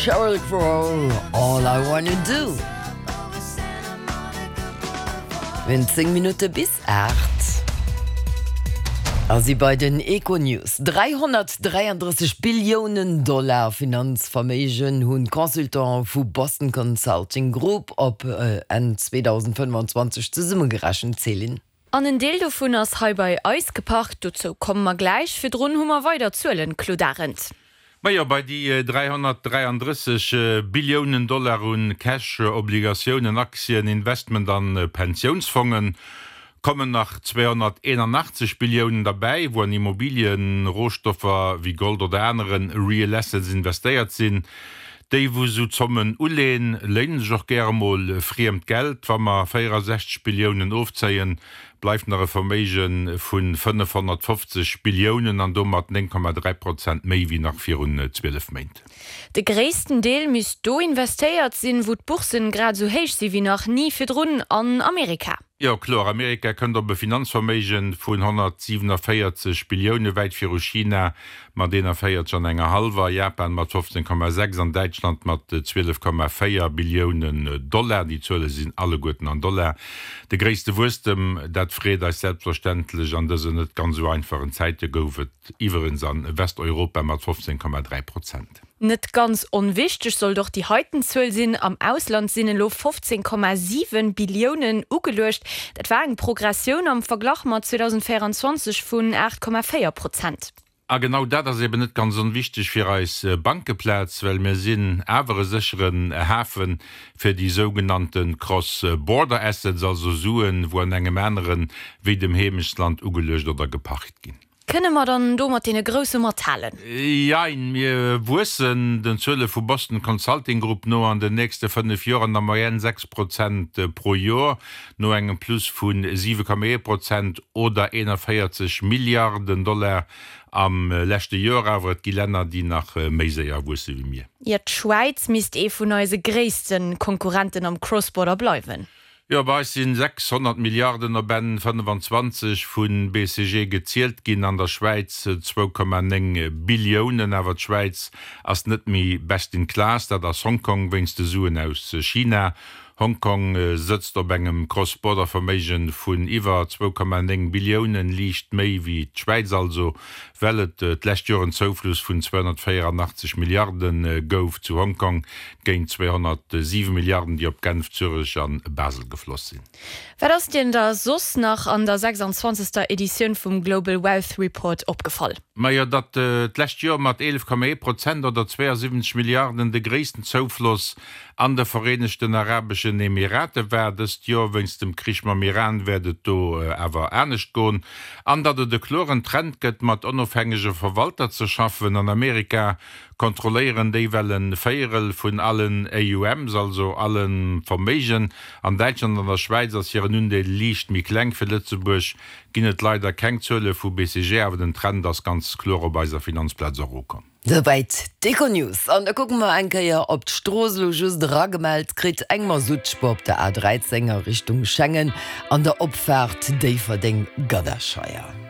Sheryl Crow, All I Wanna Do. Mir hunn 10 Minutte bis 8 a si bei den Econews. 333 Billiounen Dollar Finanzverméigen hunn d'Consultante vu Boston Consulting Group op Enn 2025 zesummegerechent, Céline. An en Deel dovun ass hei bei eis geparkt. Dozou komme mer gläich. Virdrun hu mer weider Zuelen, Claude Arend. Majo, bei déi 333 Billiounen Dollar un Cash, Obligatiounen, Aktien, Investment an Pensiounsfongen kommen nach 281 Billiounen derbäi, wou an Immobilien, Rohstoffer wéi Gold oder aneren Real Assets investéiert sinn. Déi wou sou Zommen uleen, léinen sech och gäre mol friemt Geld. Wa mer 64 Billiounen ofzéien, bleift nach e Verméige vu 550 Billiounen an domat 9,3 Prozent méi wéi nach virun 12 Méint. De gréissten Deel misst do investéiert sinn, wou d'Bourssen grad esou héich si wéi nach ni virdrun, an Amerika. Jo, kloer, Amerika kënnt op e Finanzverméige vun 147 Billioune, wäit viru China mat 41 an enger hallwer, Japan mat 15,6 an Däitschland mat 12,4 Billiounen Dollar. Déi Zuele sinn alleguerten an Dollar. De gréisste Wuesstem, dat freet eis selbstverständlech an dësen net ganz esou einfachen Zäite, gouf et iwwerens a Westeuropa mat 15,3 Prozent. Net ganz onwichteg sollt och déi heiten Zuel sinn, Am Ausland sinn elo 15,7 Billiounen ugeluecht. Dat war eng Progressioun am Verglach mat 2024 vun 8,4 Prozent. A genau dat ass eben net ganz onwichteg fir eis Bankeplaz, well mir sinn awer e sécheren Hafe fir déi sougenannte Cross-border assets, also Suen, wou an engem anere wéi dem Heemechtsland ugeluecht oder geparkt ginn. Kënne mer dann do mat deene Grousse mathalen? Jein, mir wuessen, den Zuele vu Boston Consulting Group no, an den nächste 5 Joer an der Moyenne 6 Prozent pro Joer, no engem Plus vu 7,1 Prozent oder 41 Milliarden Dollar am leschte Joer. Awer et gi Länner, déi nach méi séier wuesse wéi mir. Jo, d'Schwäiz misst ee vun eise gréisste Konkurrenten am Cross-Border bleiwen. Jo, bei eis sinn 600 Milliarden op Enn 25 vu BCG gezielt ginn, an der Schwäiz 2,9 Billiounen. Awer d'Schwäiz ass net méi best in class, dat ass Hongkong wéinst de Suen aus China. Hongkong sëtzt op engem Cross-Border-Verméigen vun iwwer 2,9 Billiounen, liicht méi wéi d'Schwäiz also, well et d'lescht Joer en Zoufluss vun 284 Milliarde gouf zu Hongkong. Géint 207 Milliarden, déi op Genf, Zürech a Basel gefloss sinn. Wat ass dir da soss nach an der 26. Editioun vum Global Wealth Report opgefall? Majo, datt d'lescht Joer mat 11,1 Prozent oder 72 Milliarden de gréissten Zoufloss an de Vereenegten Arabeschen Emirate war. Dëst Joer, wéinst dem Krich mam Iran, wäert et do awer anescht goen. An datt et e kloren Trend gëtt, mat onofhängege Verwalter ze schaffen. An Amerika kontrolléieren déi well en Véierel vun allen AUMs, also allem Verméigen. An Däitschland an der Schwäiz ass hiren Undeel liicht méi kleng. Fir Lëtzebuerg ginn et leider keng Zuele vu BCG, awer den Trend ass ganz kloer op eiser Finanzplaz och ukomm. Souwäit d'Econews. An da kucke mer eng Kéier op d'Strooss. Elo just eragemellt kritt eng Masuttspuer op der A 13 a Richtung Schengen an der Opfaart Déifferdeng-Gadderscheier.